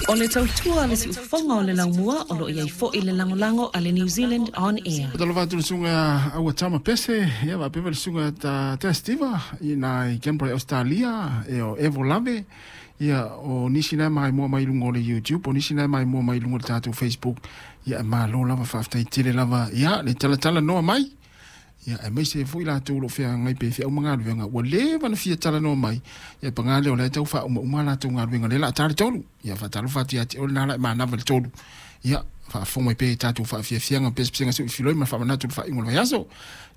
O le tautua a le siufofoga o le laumua o lo o i ai foi le lagolago a le New Zealand On Air. Talofa atu le susuga Aua Tama Pese, ia faapea foi le susuga ta Tea Steva i ina i Canberra i Ausetalia, ia o Evo Lave, ia o nisi na e maimoa mai i luga o le YouTube, o nisi na e maimoa mai i luga o le tatou Facebook, ia e malo lava, faafetai tele lava, ia le talatalanoa mai. Ia, aemaise ai foi latou o lo o feagai pea i feau ma galuega ua leva ona fia talanoa mai, ia paga lea o la e tau faaumauma a latou galuega, o lea o le a ta le 3. Ia, faatalofa atu ia te oe lena la e manava i le 3. Ia, faafofoga mai pea i tatou faafiafiaga ma pesepesega suifiloi ma le faamanatu i le faaiuga o le vaiaso.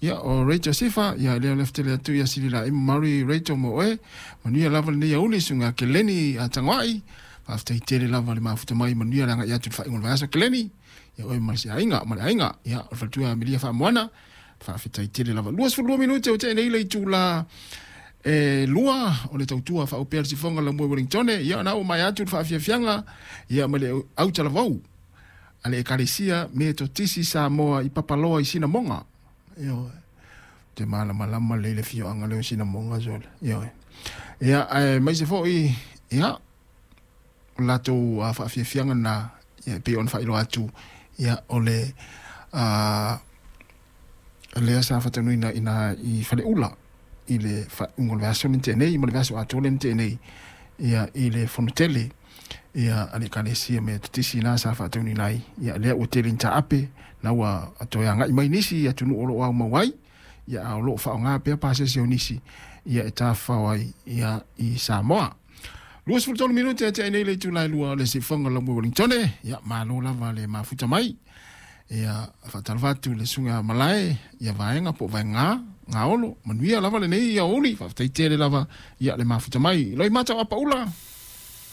Ia, o Rachel Sifa, ia, lea o le tele atu ia Sililaima Murray Rachel mo oe. Manuia lava lenei aoauli, susuga Keleni Tagoai. Faafetai tele lava le mafuta mai, manuia le agai atu i le faaiuga o le vaiaso Keleni. Ia oe ma se aiga, ma le aiga. Ia, o le faletua Amelia Faamoana, faafetai tele lava. 22 minute o tea nei le itula e 2 o le tautua faaupea le sifoga la moe Wellingtone. Ia, na ua mai atu le faafiafiaga, ia, ma le autalavou a le Ekalesia Metotisi Samoa i Papaloa i Sinamoga. Ioe. Te malamalama lelei le afioaga lea o Sinamoga sole. Ioe. Ia, aemaise foi, ia, o le latou faafiafiaga lena, ia, e pei ona faailoa atu, ia, o le lea sa faataunuina ina i Faleula i le faaiuga o le vaiaso lea na tea nei ma le vaiaso atoa lea na tea nei, ia, i le fonotele, ia, a le Ekalesia Metotisi la sa faataunuina ai, ia, lea ua tele ina taape, na ua toe agai mai nisi i atunuu o lo o aumau ai, ia, a o lo o faaaoga pea pasese o nisi, ia, e tafafao ai, ia, i Samoa. 23 minute e tea nei le itula e 2 o le siufofoga o lau Wellingtone. Ia, malo lava le mafuta mai. Ia, faatalofa atu le susuga Malae, ia vaega po o vaega, gaolo, manuia lava lenei aoauli, faafetai tele lava, ia le mafuta mai. Loimata o Apaula.